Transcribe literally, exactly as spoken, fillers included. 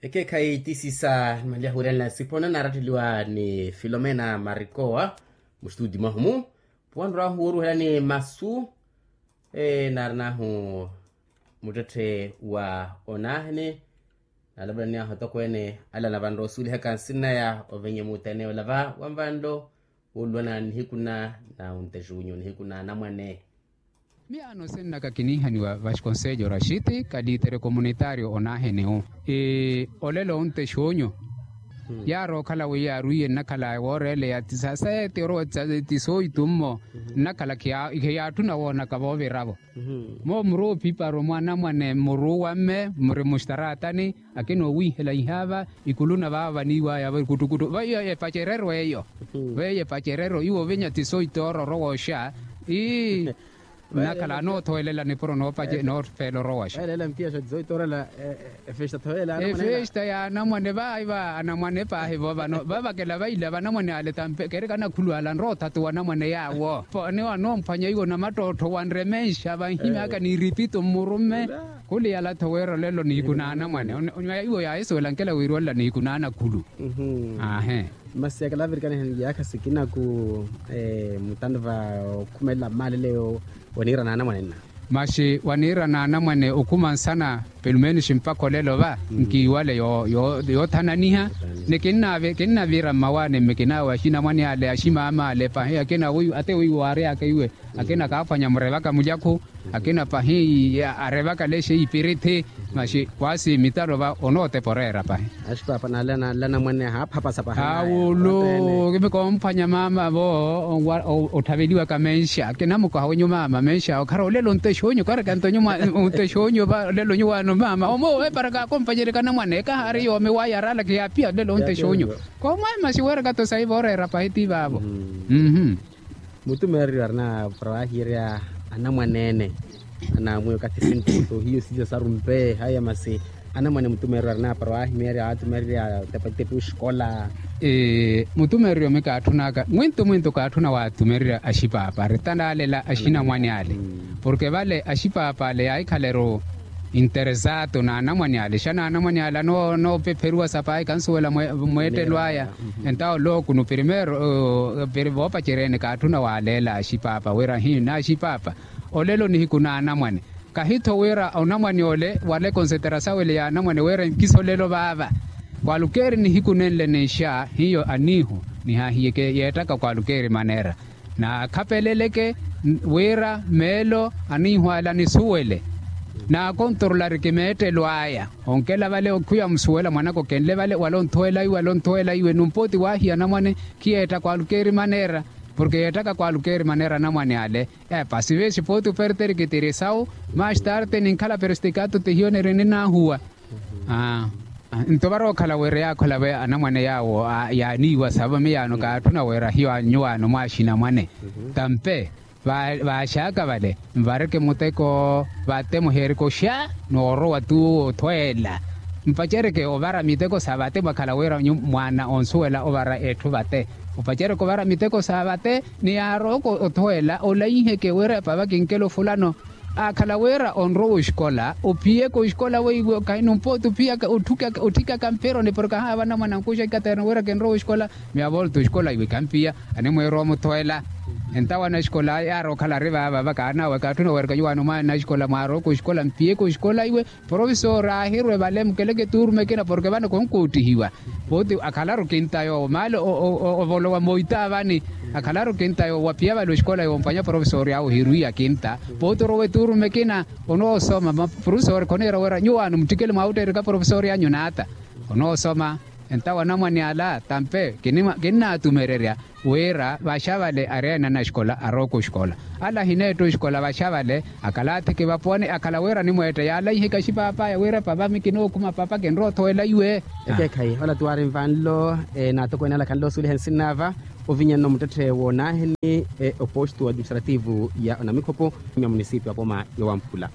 Ekeekhayi tisiisa nimanlyahuwelelana siphona naaratteliwa ni filomena marikowa. Mustudi mwahumu puwanrwahu woruhelani masu naarinahu muttetthe wa onahene. Nalapulaniyahu atokweene ala navanrosuwelihaka nsinaya ovenye muteneyo lava wanvanlo wooluwana nihiku na na ontexunyu nihiku na anamwane. Miyaano sinnaka kiniihaniwa vasconselho rashiti kalitere comunitario onahene-u. Olelo ontexunyu yaari okhala wi yaarwiye nnakhala wooreeleya ti saseeti orowa ti soitummo nnakhala khiyaatthuna woonaka vooviravo. Muu muri ophiparo mwa anamwane mmuruuwa mme muri mustaraatani akina owiihela ihaava ikulu na vaavo vaniiwaya vaiyo epacereryo eyo. Veiyo epacereryo iwo ovinya ti soitooro orowa oxa. Ii nnakhala anoothoolela nipuro noofeela orowa oxa. Efesta ya anamwane vaayi va anamwane paahi vo vano vavakela vaila vanamwane ale tampe kerikana khulu ala nrootatu wanamwane yaawo. Ni wanomphwanya iwo namattottho wanremenxa vanhimyaka niripito mmurumme. Khuli yala-tho wira olelo nihiku na anamwane. Iwo yaahisuwela nkela wiirwanla nihiku na anakhulu. Aahe. Masi akala avirikana ehanliyaakha sikinaku mutanva okhumelela mmaaleleiwo waniira na anamwane nna. Masi waniira na anamwane okhuma nsana pelumenus mpakha olelo va nkiiwale yoothananiha. Ni kinnavira mmawaani mme kinaawe axinamwane ale aximama ale pahi akina ate wiiwo waaryaka iwe akina kaaphwanya murevaka mulyakhu akina pahi arevaka lexe ipirithi. Masi kwaasi mitalo va onootepa oreera pahi. Axipapa nala nanla namwane ahaaphapasa pahi awulu kimi koomphwanya maama vo otthaveliwaka menxa kinamukaha wenyu maama menxa okhara olelo ontexonyu karekanto ontexonyu va olelo nyuwaano maama omo eparaka akompanyereka namwane kahaari yoomi waya araalaka yaapiya olelo ontexonyu. Koomwahi masi weerakato sayi vooreera pahi ti vaavo. Mutumeereryo arina para waahiirya anamwaneene anaamwiya okathi sintutu hiyo siisa sarumpe haya masi anamwane mutumeereryo arina para waahimeerya aatumeererya otepatitepi oxikola. Mutumeereryo mi kaatthunaka mwintu mwintu kaatthuna waatumeererya axipaapa ari tanaalela axinamwane ale porke vale axipaapa ale yaahikhala-ru interesato na anamwane ale xa na anamwane ale anoopepheruwa sapayi kansuwela mweettelo aya. Entawo lookunu primeiro piri voopacereene kaatthuna waaleela axipaapa wira hi na axipaapa olelo nihiku na anamwane. Kahi-tho wira onamwane ole wale konsetera sawele ya anamwane wira nkisa olelo vaava kwalukeeri nihiku nenle ninxa hiyo aniihu nihaahiye yeettaka kwalukeeri maneera. Naakhapeleleke wira meelo aniihwaala nisuwele naakontorolari kimeettelo aya onkela vale okhuya musuwela mwanaka okenle vale wala onthuwela iwe wala onthuwela iwe numpooti waahiya anamwane. Khiyeetta kwalukeeri maneera porke yeettaka kwalukeeri maneera anamwane ale. Epa sivesi pooti operteri kitiri sawu mastarte ninkhala perestikato tihiyo niri ninaahuwa. Nto varookhala wira yaakhola ve anamwane yaawo yaaniiwa savo miyaano kaatthuna wira hiyo anyuwaano mwaaxinamwane tampe vaaxaaka vale nvareke muteko vate muheereke oxa noorowa tu othweela. Mpacereke ovara miteko sa vate mwakhala wira mwaana onsuwela ovara etthu vate opacereke ovara miteko sa vate ni yaarooko othweela olaiheke wira epava kinkelo fulano. Akhala wira onrowa oxikola ophiyeke oxikola weiwe kahi numpooti ophiyaka otthikaka mphironi porke ahaava anamwane ankuxa ikaterna wira kinrowa oxikola. Miyavolta oxikola iwe kampiya animweerowa omuthweela. Entawo anaxikola yaari okhala ari vaava vakaanawe kaatthuna werka nyuwaano mwaana anaxikola mwaarowaka oxikola mpiyeke oxikola iwe. Profesori aahirwe vale mukeleke tuurume ekina porke vano konkoottihiwa. Pooti akhalaru kinta yoowo maale ovolowa moita vani. Akhalaru kinta yoowo waphiya vale oxikola yoompwanya profesori awe ohirwiya kinta pooti orowa etuurume ekina. Onoosoma profesori khoneera wira nyuwaano muttikele mwaawutteerika profesori anyu naata. Onoosoma entawo anamwane ala tampe kinnaatumererya wira vaxa vale ari ene anaxikola arooka oxikola. Ala ahineetta oxikola vaxa vale akhala athiki vapuwani akhala wira animweetta yaalaiheke axipaapaaya wira papa mi kinookhuma papa kinrowa othowela iwe. Ekeekhayi ola tuwaari nvanlo naatokweene ala khanle osuweliha nsinnaava ovinya nno muttetthe woonaaheni oposto administrativo ya onamikhopo ya munisipi apoma yowamphula.